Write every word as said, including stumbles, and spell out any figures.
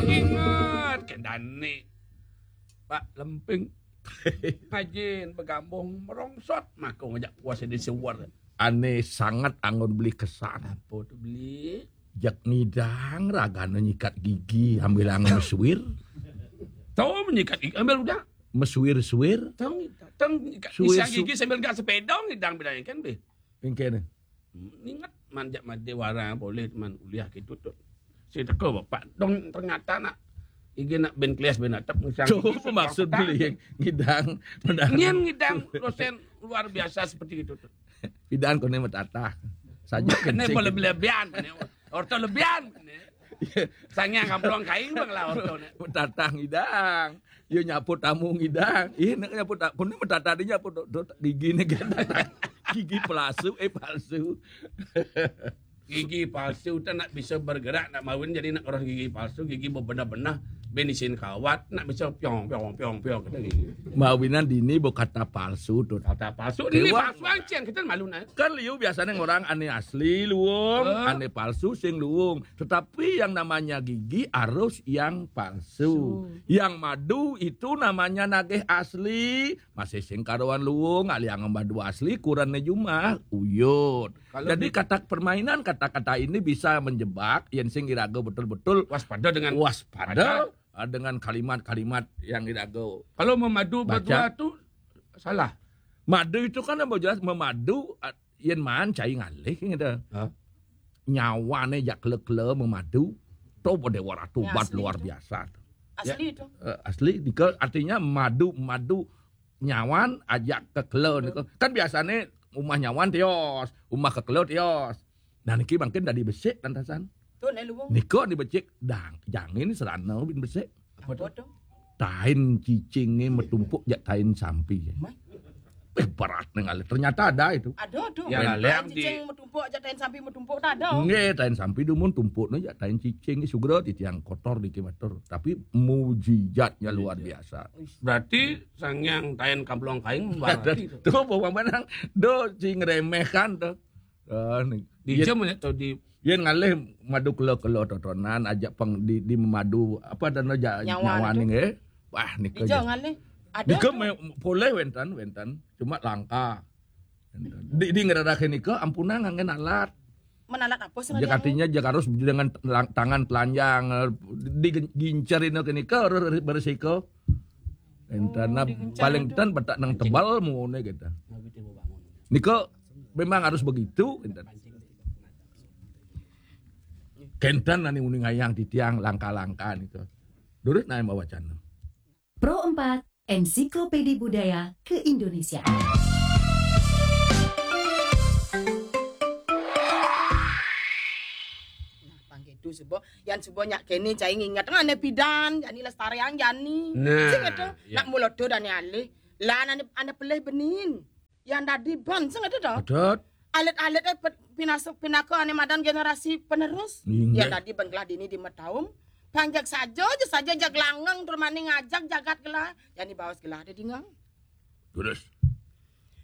Ingat ke dani. Pak Lemping. Ngajin begambung merongsot mako ngajak kuasa di suwer. Ane sangat anggon beli kesan. Apa tu beli? Jak ngidang ragane nyikat gigi ambil angen mesuir. Tahu menyikat gigi ambil udah. Mesuir-suir. Tahu ngidang. Tahu ngidang. Suir Isang su- gigi sambil gak sepeda ngidang bilangnya kan be. Engkene. Ingat manjak made warang boleh teman uliah gitu tu. Saya teko bapak dong ternyata nak igi nak ben klias ben atap ngisang Tuh gigi, maksud beli yang ngidang. Menang. Nyen ngidang dosen luar biasa seperti itu tu. Pidan kone metatah. Saja Ini kencing. Boleh lebihan. Orto lebihan. Sangyang kampung kain bang lah orto ni. Metatah ngidang. Yo nyapu tamu ngidang. Ih, nak nyapu tak. Kone metatah dia nyapu do, do, gigi ni kan. Gigi palsu, eh palsu. Gigi palsu tu nak bisa bergerak, nak mawin jadi nak orang gigi palsu, gigi bebenah-benah, ben isin kawat, nak bisa piong piong piong piong kata gigi. Mawinan dini bo kata palsu tu. Kata palsu ni palsu ancen kita malu nak. Kan liu biasanya orang ane asli luung, ane palsu sing luung. Tetapi yang namanya gigi harus yang palsu. Yang madu itu namanya nagih asli. Masih sing karuan luung, aliang madu asli, kurane jumah, uyut. Jadi kata permainan kata-kata ini bisa menjebak, yen sing iraga betul-betul waspada dengan waspada, ah, dengan kalimat-kalimat yang iraga. Kalau memadu baca. Berdua tu salah. Madu itu kan yang jelas memadu, ah, yen maan cai ngalih gitu. Hah? Nyawane jak kele-kele memadu, to dewa ratu obat luar biasa. Asli itu. Eh, asli, nika artinya madu, madu nyawan ajak kekele nika. Kan biasane umah nyawan tios, umah kekele tios. Nah niki mangkin dadi besik lantasan. Tu nek luwung. Nika ni becik dang jangin serana bin besik. Apa tu? Tain cicinge metumpuk jak tain sampi. Eh berat nih ngalih. Ternyata ada itu. Ada tu. Ya, tain cicing metumpuk jak tain sampi metumpuk tak ada. Nggih, tain sampi dumun tumpuk ni jak tain cicing ni sugra titiang kotor di kimatur. Tapi mujizatnya luar biasa. Berarti sangyang tain kamplong kain berarti tu. Tu bawang banang. Do sing remehkan tu. Ah, ni. Di jam ni tu di yen ngalih madu kelo-kelo totonan ajak peng di, di madu apa dan aja nyawa ni nggih. Wah nika. Di jam ngalih. Ada. Nika boleh wenten wenten cuma langka. Di, di ngeradakin nika ampunang nganggen alat. Menalat apa sih? Artinya jak harus dengan tangan telanjang digincer nika harus berisiko. Enten paling ten betak nang tebal mune kita. Nika memang harus begitu enten. Kenten nani uning ayang titiang langka-langka nika. Durus nae mawacana. Pro empat, Ensiklopedi Budaya Keindonesiaan. Nah, pangketu suba, yan suba nyak kene cai nginget ngane pidan, jani lestariang jani. Nah, sing itu, ya. Nak mulodo dane alih. Lah ane, ane pelih benin. Yan dadi ban sing itu to. Adat. Alit-alit eh pinaka ane madan generasi penerus. Yan dadi ban gelah dini di metaum. Panjak saja, aja saja jak langang tur mani ngajak jagat gelah. Jani baos gelah ada dingang. Terus.